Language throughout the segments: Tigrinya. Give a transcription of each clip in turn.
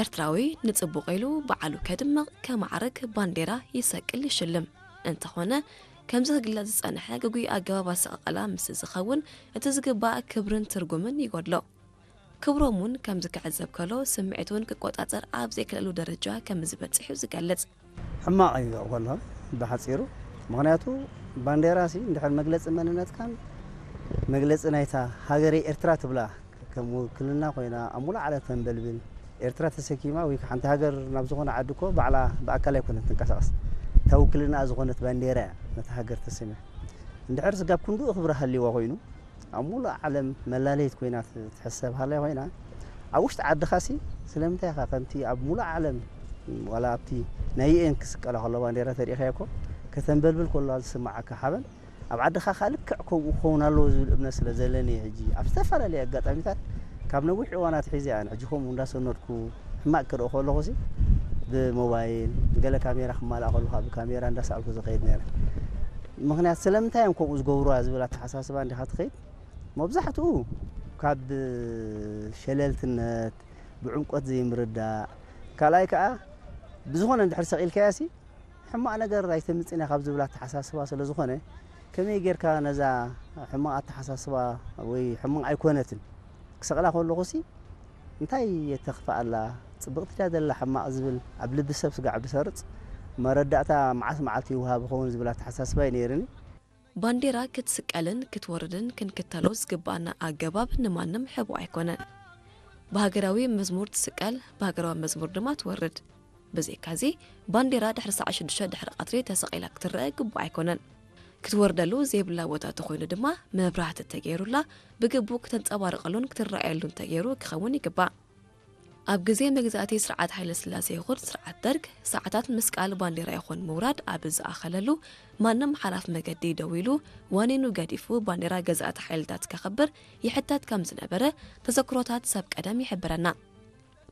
ኤርትራዊ ንጽቡቕ ኢሉ በዓሉ ከድምቕ፣ ከማዕርግ፣ ባንዴራ ይሰቅል፣ ይሽልም። እንተኾነ፣ ከምዚ ክግለጽ ዝጸንሐ ግጉይ ኣገባብ ኣሰቃቕላ ምስ ዝኸውን፣ እቲ ዝግባእ ክብርን ትርጉምን ይጎድሎ። ክብሮም እውን ከምዚ ክዕዘብ ከሎ፣ ስምዒት እውን ክቆጻጸር ኣብ ዘይክእለሉ ደረጃ ከም ዝበጽሕ እዩ ዝገልጽ። ሕማቕ እዩ ከሎ፣ ብሓጺሩ። ምኽንያቱ፣ ባንዴራ ሲ እንድሕር መግለጺ መንነትካን መግለጺ ናይታ ሃገረይ ኤርትራ ትብላ ከም ውክልና ኮይና ኣብ ሙሉእ ዓለም ተንበልብል፣ ኤርትራ ተሰኪማ ወይ ሓንቲ ሃገር ናብ ዝኾነ ዓዲ እኮ ባዕላ ብኣካል ኣይኮነት ትንቀሳቐስ። እታ ውክልና ዝኾነት ባንዴራ እያ ነታ ሃገር ተሰሚያ። እንድሕር ስጋብ ክንድኡ ክብሪ ሃልይዋ ኮይኑ፣ ኣብ ሙሉእ ዓለም መላለይት ኮይና ት-፣ ትሕሰብ ሃላይ ኮይና፣ ኣብ ውሽጢ ዓድኻ ሲ ስለምንታይ ኢኻ ከምቲ ኣብ ሙሉእ ዓለም ዋላ ኣብቲ ናይ ዩ ኤን ክስቀላ ከሎ ባንዴራ ተሪኢኻዮ እኮ ከተንበልብል ከሎ ዝስምዓካ ሓበን፣ ኣብ ዓድኻ ከኣ ልክዕ ከምኡ ክኸውን ኣለዎ ዝብል እምነት ስለ ዘለኒ እየ። ሕጂ ኣብ ዝተፈላለየ ኣጋጣሚታት ካብ ነዊሕ እዋናት ሒዘ እየ ኣነ ሕጂ ከምኡ እንዳሰነድኩ ሕማቕ ክርኢ ከለኹ ሲ ብሞባይል ገለ ካሜራ ክማልኣ ከለኻ ብካሜራ እንዳሰኣልኩ ዝኸይድ ነይረ። ምኽንያት ስለምንታይ እዮም ከምኡ ዝገብሩዋ ዝብል ኣተሓሳስባ እንዲኻ ትኸይድ። መብዛሕትኡ ካብ ሸለልትነት፣ ብዕምቆት ዘይምርዳእ፣ ካልኣይ ከኣ ብዝኾነ እንድሕር ሰቒልካያ ሲ ሕማቕ ነገር ኣይተምጽእን እያ ካብ ዝብል ኣተሓሳስባ ስለ ዝኾነ፣ ከመይ ጌርካ ነዛ ሕማቕ ኣተሓሳስባ ወይ ሕማቕ ኣይኮነትን ክሰቕላ ከለኹ ሲ እንታይ የተኽፍኣላ፣ ጽብቕቲ ድያ ዘላ ሕማቕ ዝብል ኣብ ልቢ ሰብ ስጋዕ ብሰርጽ መረዳእታ መዓስ መዓልቲ ይወሃብ ይኸውን ዝብል ኣተሓሳስባ እዩ ነይርኒ። ባንዴራ ክትስቀልን ክትወርድን ክንክተሎ ዝግባኣና ኣገባብ ንማንም ሕቡእ ኣይኮነን። ብሃገራዊ መዝሙር ትስቀል፣ ብሃገራዊ መዝሙር ድማ ትወርድ። ብዘይካዚ፣ ባንዴራ ድሕሪ ሰዓት ሽዱሽተ ድሕሪ ቀትሪ ተሰቒላ ክትረአ ግቡእ ኣይኮነን። ክትወርደሉ ዘይብላ ቦታ ተኾይኑ ድማ መብራህቲ ተገይሩላ ብግቡእ ክተንጸባርቐሉን ክትረኣየሉን ተገይሩ ክኸውን ይግባእ። ኣብ ግዜ መግዛእቲ ስርዓት ሃይለ ስላሴ ይኹን ስርዓት ደርግ፣ ሰዓታት ምስቃል ባንዴራ ይኹን ምውራድ ኣብ ዝኣኸለሉ፣ ማንም ሓላፍ መገዲ ደው ኢሉ፣ ዋኒኑ ገዲፉ ባንዴራ ገዛእቲ ሓይልታት ከኽብር ይሕተት ከም ዝነበረ ተዘክሮታት ሰብ ቀደም ይሕብረና።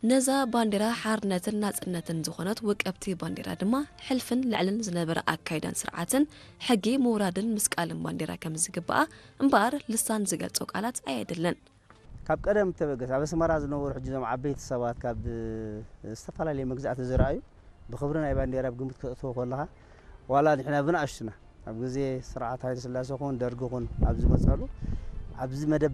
ነዛ ባንዴራ ሓርነትን ናጽነትን ዝኾነት ውቅብቲ ባንዴራ ድማ ሕልፍን ልዕልን ዝነበረ ኣካይዳን ስርዓትን ሕጊ ምውራድን ምስቃልን ባንዴራ ከም ዝግባኣ እምበኣር ልሳን ዝገልጾ ቃላት ኣየድልን። ካብ ቀደም ተበገስ ኣብ ኣስመራ ዝነበሩ ሕጂ እዞም ዓበይቲ ሰባት ካብ ዝተፈላለዩ መግዛእቲ ዝረኣዩ ብኽብሪ ናይ ባንዴራ ኣብ ግምት ከተእትዎ ከለኻ ዋላ ንሕና ብንኣሽቱና ኣብ ግዜ ስርዓት ሃይለ ስላሴ ኹን ደርጊ ኹን ኣብ ዝመጸሉ ኣብዚ መደብ